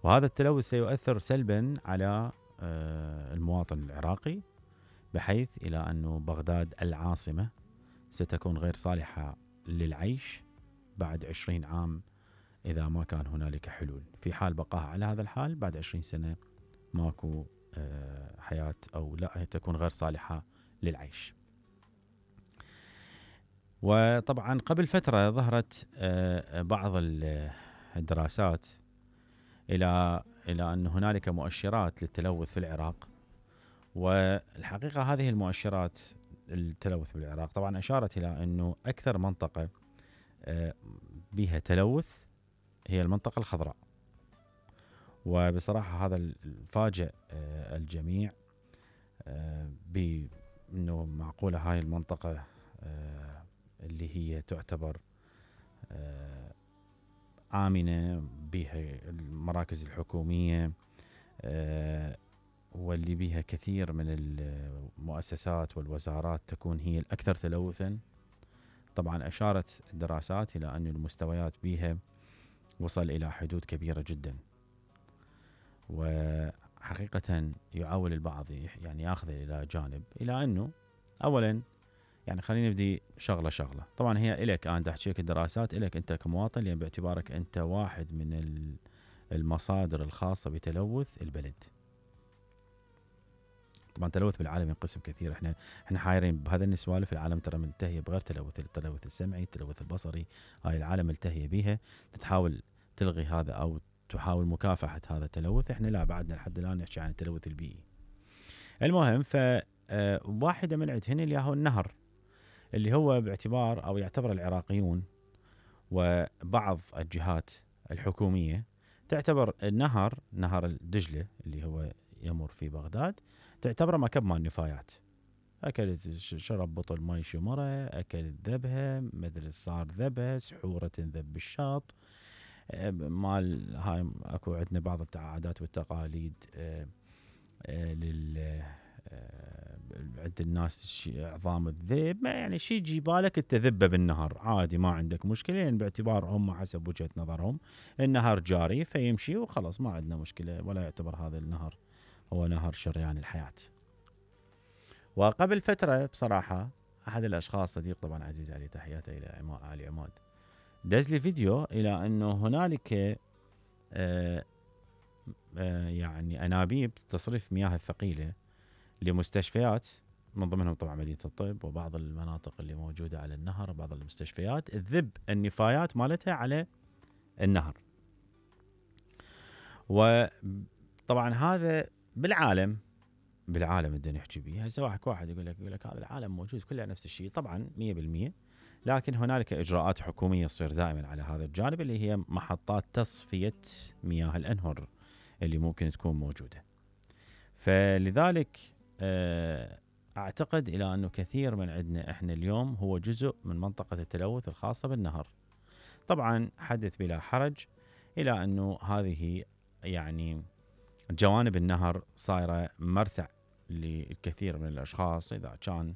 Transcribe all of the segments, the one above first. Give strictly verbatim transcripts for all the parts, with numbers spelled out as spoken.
وهذا التلوث سيؤثر سلبا على المواطن العراقي، بحيث إلى أن بغداد العاصمة ستكون غير صالحة للعيش بعد عشرين عام إذا ما كان هنالك حلول. في حال بقاها على هذا الحال بعد عشرين سنة ماكو حياة، أو لا تكون غير صالحة للعيش. وطبعا قبل فترة ظهرت بعض الدراسات إلى إلى أن هنالك مؤشرات للتلوث في العراق، والحقيقة هذه المؤشرات التلوث في العراق طبعا أشارت إلى أنه أكثر منطقة بها تلوث هي المنطقة الخضراء. وبصراحة هذا الفاجئ الجميع بأنه معقولة هاي المنطقة اللي هي تعتبر آمنة، بها المراكز الحكومية واللي بها كثير من المؤسسات والوزارات تكون هي الأكثر تلوثا. طبعا أشارت الدراسات إلى أن المستويات بها وصل إلى حدود كبيرة جدا، وحقيقة يعول البعض يعني يأخذ إلى جانب إلى أنه أولا يعني خلينا نبدي شغلة شغلة. طبعا هي إليك أنا أحكي لك الدراسات إليك أنت كمواطن، لأن باعتبارك أنت واحد من المصادر الخاصة بتلوث البلد. طبعا التلوث بالعالم ينقسم كثير، احنا احنا حايرين بهذا السوالف. العالم ترى ملتهيه بغير تلوث، التلوث السمعي، التلوث البصري، هاي العالم ملتهيه بيها، تحاول تلغي هذا او تحاول مكافحه هذا التلوث. احنا لا، بعدنا لحد الان نحكي عن التلوث البيئي. المهم ف واحده من عندهن اللي هو النهر، اللي هو باعتبار او يعتبر العراقيون وبعض الجهات الحكوميه تعتبر النهر نهر الدجله اللي هو يمر في بغداد تعتبره مكب مال نفايات. اكلت شرب بطل ماي شمره، اكلت ذبها، مدري صار ذبها، سحوره تنذب بالشاط مال. هاي اكو عندنا بعض العادات والتقاليد لل عند الناس عظام الذئب، ما يعني شي يجي بالك التذبه بالنهر عادي، ما عندك مشكله، يعني باعتبار هم حسب وجهه نظرهم النهر جاري فيمشي وخلاص، ما عندنا مشكله، ولا يعتبر هذا النهر هو نهر شريان الحياه. وقبل فتره بصراحه احد الاشخاص صديق طبعا عزيز علي، تحياته الى علي عماد، دز لي فيديو الى انه هنالك آآ آآ يعني انابيب تصريف مياه الثقيله لمستشفيات، من ضمنهم طبعا مدينه الطب وبعض المناطق اللي موجوده على النهر، وبعض المستشفيات تذب النفايات مالتها على النهر. وطبعا هذا بالعالم بالعالم بدنا نحكي بيه. هسه واحد واحد يقول لك يقول لك هذا العالم موجود كله نفس الشيء، طبعا مية بالمية، لكن هنالك اجراءات حكوميه تصير دائما على هذا الجانب، اللي هي محطات تصفيه مياه الانهر اللي ممكن تكون موجوده. فلذلك اعتقد الى انه كثير من عندنا احنا اليوم هو جزء من منطقه التلوث الخاصه بالنهر. طبعا حدث بلا حرج الى انه هذه يعني جوانب النهر صايره مرتع للكثير من الاشخاص. اذا كان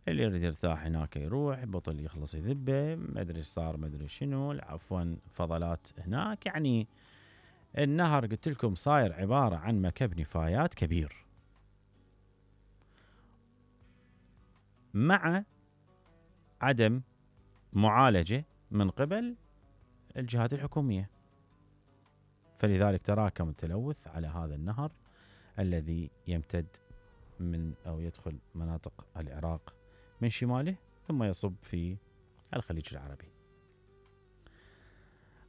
اللي يريد يرتاح هناك يروح، بطل يخلص يذبه، ما ادري صار ما ادري شنو، عفوا فضلات هناك. يعني النهر قلت لكم صاير عباره عن مكب نفايات كبير، مع عدم معالجه من قبل الجهات الحكوميه. فلذلك تراكم التلوث على هذا النهر الذي يمتد من أو يدخل مناطق العراق من شماله ثم يصب في الخليج العربي.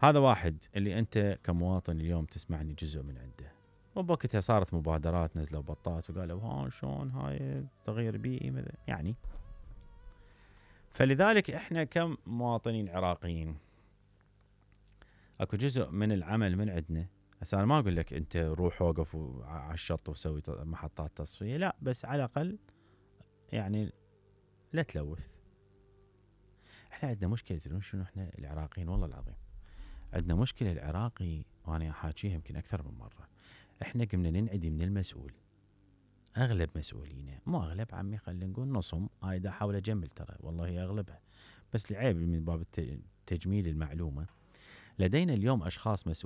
هذا واحد اللي أنت كمواطن اليوم تسمعني جزء من عنده. وبوقتها صارت مبادرات، نزلوا بطات وقالوا ها شلون هاي تغيير بيئي يعني. فلذلك احنا كمواطنين عراقيين اكو جزء من العمل من عندنا. هسه انا ما اقول لك انت روح وقف على الشط وسوي محطات تصفيه، لا، بس على الاقل يعني لا تلوث. احنا عندنا مشكله تدرون شنو؟ احنا العراقيين والله العظيم عندنا مشكله. العراقي وانا حاكيها يمكن اكثر من مره، احنا قمنا ننعدي من المسؤول. اغلب مسؤولينا، مو اغلب عمي، خلينا نقول نصهم، هاي دا احاول اجمل ترى والله اغلبها، بس العيب من باب تجميل المعلومه. لدينا اليوم اشخاص مسؤولين